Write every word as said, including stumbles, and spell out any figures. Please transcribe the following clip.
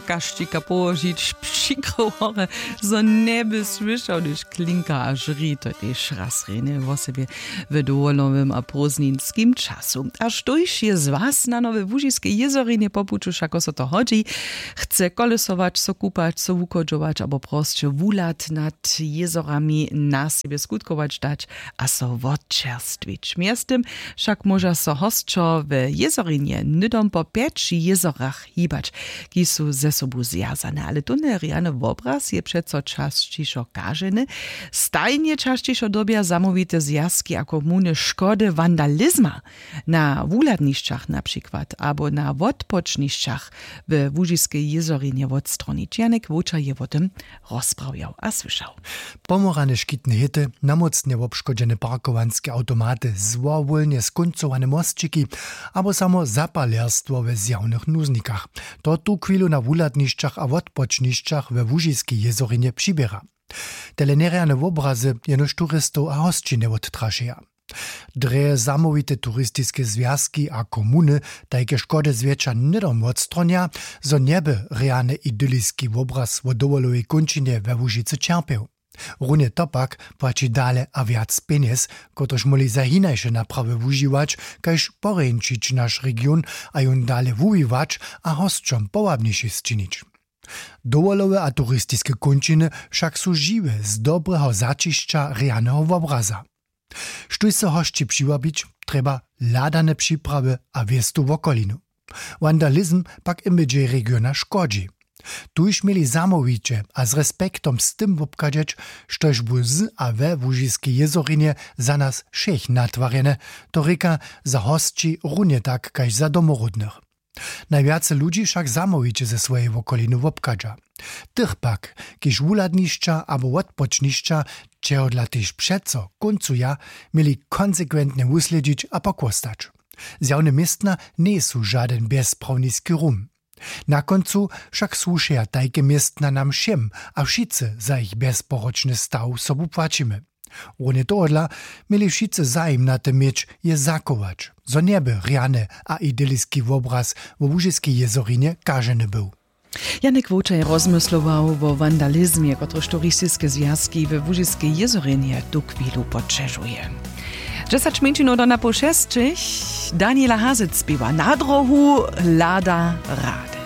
kašćika połožić přikrył horje, zo njeby słyšał, hdyž klinka a žri. To je tež raz rjenje wosebje w dowolowym a prózdninskim času. A štóž je z was na nowe łužiskej jězorinje po puću, wšako so to hodźi, chce kolesować, so kupać, so wuchodźować abo prosće wuhlad nad jězorami na sebje skutkować dać a so wotčerstwić. Mjeztym wšak móža so hosćo w jězorinje hnydom po pjeć jězorach hibać, kiž su ze sobu zwjazane, ale tónle rjany wobraz je přeco časćišo kaženy. Stajnje časćišo dyrbja zamołwite zwjazki a komuny škody wandalizma na wuhladnišćach na přikład abo na wotpočnišćach we łužiskej jězorinje wotstronić. Janek Wołča je wo tym rozprawjał a słyšał. Pomorane škitne hěty, namócnje wobškodźene parkowanske awtomaty, zwowólnje skóncowane mosćiki abo samo zapalerstwo we zjawnych nuznikach, to tuchwilu na wuhladnišćach a wotpočnišćach we łužiskej jězorinje přiběra. Tele njerjane wobrazy jenož turistow a hosći njewottrašeja. Drje zamołwite turistiske zwjazki a komuny tajke škody zwjetša hnydom wotstronja, zo njeby rjany idyliski wobraz wo dowolowej kónčinje we łužicy ćerpjeł. Runje to pak płaći dale a wjac pjenjez, kotryž móhli za hinaše naprawy wužiwać, kaž porjeńšić naš region a jón dale wuwiwać a hosćom powabniši sčinić. Dowolowe a turistiske kónčiny wšak su žiwe z dobreho zaćišća rjaneho wobraza. Štóž so hosći přiwabić, trjeba hladane připrawy a wěstu wokolinu. Wandalizm pak imidźej regiona škodźi. Tuž měli zamołwiće a z respektom z tym wobchadźeć, štož bu z a we łužiskej jězorinje za nas wšěch natwarjene, to rěka za hosći runje tak kaž za domoródnych. Najwjace ludźi wšak zamołwiće ze swojej wokoliny wobchadźa. Tych pak, kiž wuhladnišća abo wotpočnišća, čehodla tež přeco kóncuja, měli konsekwentnje wuslědźić a pokłostać. Zjawne městna njejsu žadyn bjezprawniski rum. Na kóncu wšak słušeja tajke městna nam wšěm a wšitcy za jich bjezporočny staw sobu płaćimy. Runje tohodla měli wšitcy zajim na tym měć, je zachować, zo njeby rjany a idyliski wobraz wo łužiskej jězorinje kaženy był. Janek Wołčaj rozmyslował wo wandalizmje, kotryž turistiske zwjazki we łužiskej jězorinje tuchwilu poćežuje. Dźesać mjeńšinow do napoł šesćich. Daniela Hazec spěwa Na drohu hlada rady.